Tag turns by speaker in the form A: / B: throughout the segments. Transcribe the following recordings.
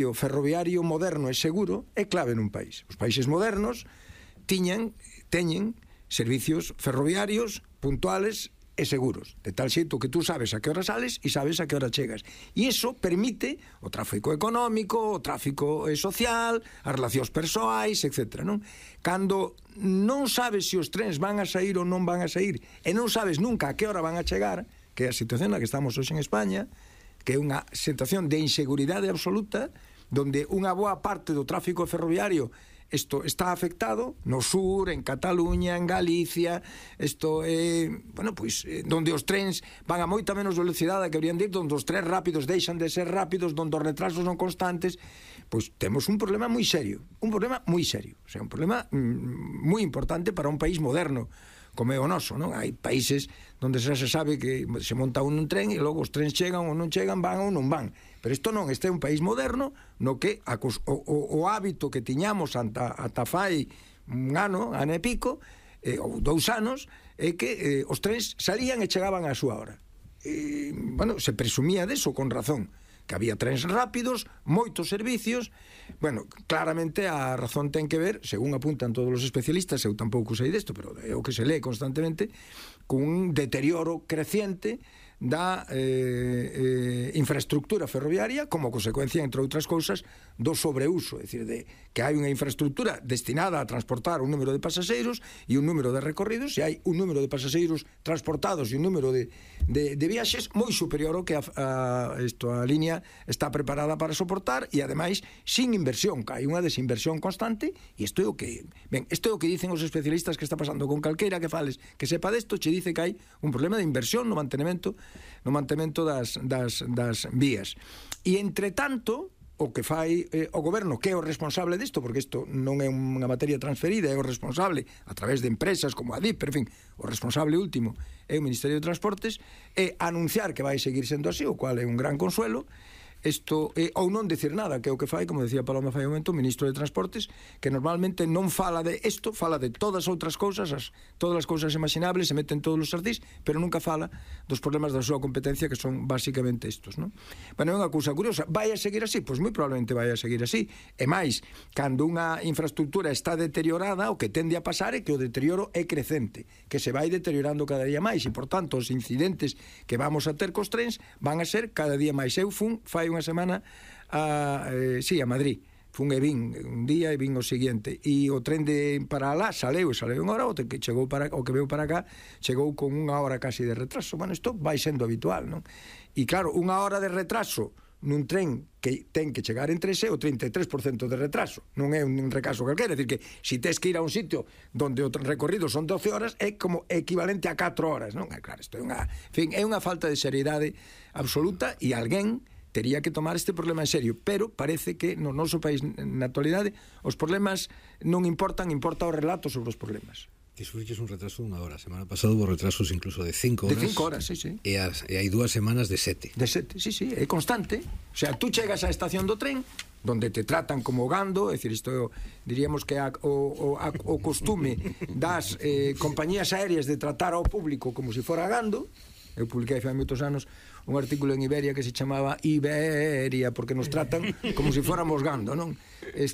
A: O ferroviario moderno e seguro é clave nun país. Os países modernos teñen servicios ferroviarios puntuales e seguros, de tal xeito que tú sabes a que hora sales e sabes a que hora chegas. E iso permite o tráfico económico, o tráfico social, as relacións persoais, etc. Non? Cando non sabes se os trens van a sair ou non van a sair e non sabes nunca a que hora van a chegar, que é a situación na que estamos hoxe en España, que é unha situación de inseguridade absoluta, donde unha boa parte do tráfico ferroviario isto está afectado no sur, en Cataluña, en Galicia, isto é, bueno, pois, donde os trens van a moita menos velocidade que habrían de ir, donde os trens rápidos deixan de ser rápidos, donde os retrasos son constantes, pois temos un problema moi serio, o sea, un problema moi importante para un país moderno como é o noso, non? Hai países onde xa se sabe que se monta un tren e logo os trens chegan ou non chegan, van ou non van. Pero isto non, este é un país moderno no que o hábito que tiñamos ata fai un ano e pico, ou 2 anos, é que os trens salían e chegaban á súa hora. Bueno, se presumía deso con razón, que había trens rápidos, moitos servicios. Bueno, claramente a razón ten que ver, según apuntan todos os especialistas, eu tampouco sei desto, pero é o que se lee constantemente, con un deterioro creciente da infraestructura ferroviaria como consecuencia, entre outras cousas, do sobreuso, é dicir, de que hai unha infraestructura destinada a transportar un número de pasaxeiros e un número de recorridos, e hai un número de pasaxeiros transportados e un número de viaxes moi superior ao que a línea está preparada para soportar, e ademais sin inversión, que hai unha desinversión constante, e isto é o que dicen os especialistas que está pasando con calqueira que fales que sepa desto, che dice que hai un problema de inversión no mantenimento das vías. E entre tanto, o que fai o goberno, que é o responsable disto, porque isto non é unha materia transferida, é o responsable a través de empresas como a DIP, pero en fin, o responsable último é o Ministerio de Transportes, é anunciar que vai seguir sendo así, o cual é un gran consuelo, ou non decir nada, que é o que fai, como decía Paloma fai un momento, o Ministro de Transportes, que normalmente non fala de isto, fala de todas outras cousas, todas as cousas imaginables, se meten todos os sardís, pero nunca fala dos problemas da súa competencia, que son basicamente estos, non? Bueno, é unha cousa curiosa. Vai a seguir así? Pois moi probablemente vai a seguir así. E máis, cando unha infraestructura está deteriorada, o que tende a pasar é que o deterioro é crecente, que se vai deteriorando cada día máis, e, por tanto, os incidentes que vamos a ter cos trens van a ser cada día máis. Eu fai unha semana a Madrid, fun e vin un día e vin o seguinte, e o tren para alá saleu unha hora, o que veu para acá chegou con unha hora casi de retraso. Bueno, isto vai sendo habitual, non? E claro, unha hora de retraso nun tren que ten que chegar en 3 é o 33% de retraso, non é un retraso calquera, é dicir que se tes que ir a un sitio onde o recorrido son 12 horas é como equivalente a 4 horas, non? Claro, isto é unha falta de seriedade absoluta, e alguén tería que tomar este problema en serio, pero parece que no noso país na actualidade os problemas non importan, importa o relato sobre os problemas.
B: Ti sufriches un retraso de 1 hora. Semana pasada hubo retrasos incluso de 5 horas.
A: De 5 horas, sí.
B: E hai 2 semanas de 7.
A: De 7, sí, é constante. O sea, tú chegas á estación do tren, donde te tratan como gando, é dicir, isto diríamos que o costume das compañías aéreas de tratar ao público como se fora gando. Eu publiquei fai moitos anos un artículo en Iberia que se chamaba Iberia, porque nos tratan como se fóramos gando, non? E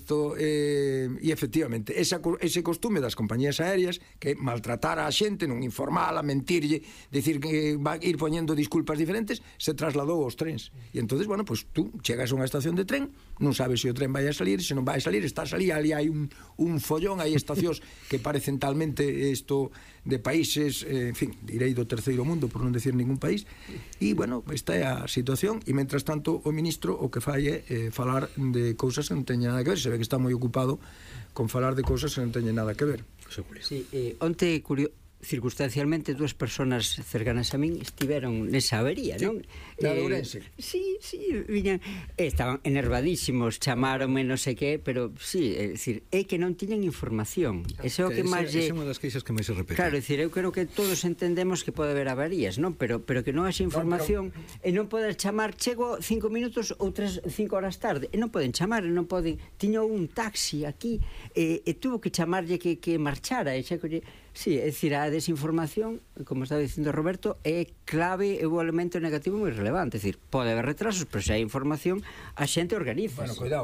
A: efectivamente, ese costume das compañías aéreas, que maltratar a xente, non informala, mentirlle, dicir que va ir poñendo disculpas diferentes, se trasladou aos trens. E entonces, bueno, pues tú chegas a unha estación de tren, non sabes se o tren vai a salir, se non vai a salir, estás ali hai un follón, hai estacións que parecen talmente isto de países, en fin, direi do terceiro mundo, por non decir ningún país, e, bueno, esta é a situación, e, mentras tanto, o ministro o que fai é falar de cousas que non teñen nada que ver, se ve que está moi ocupado con falar de cousas que non teñen nada que ver.
C: Sí, onte, circunstancialmente, 2 persoas cercanas a min estiveron nesa avería, non?
A: Na de Ourense.
C: Sí, viñan, estaban enervadísimos, chamaronme, non sei que, pero sí, é dicir, é que non tiñan información. Ese é o que máis
B: é unha das queixas que máis se repete.
C: Claro, é dicir, eu creo que todos entendemos que pode haber averías, non? Pero que non haxe información, e non podes chamar, chego 5 minutos ou 5 horas tarde, e non poden chamar, e non poden. Tiño un taxi aquí, e tuvo que chamarlle que marchara, e xa colle. Sí, é dicir, a desinformación, como estaba dicindo Roberto, é clave, é un elemento negativo moi relevante. É dicir, pode haber retrasos, pero se hai información, a xente organiza.
A: Bueno, cuidado.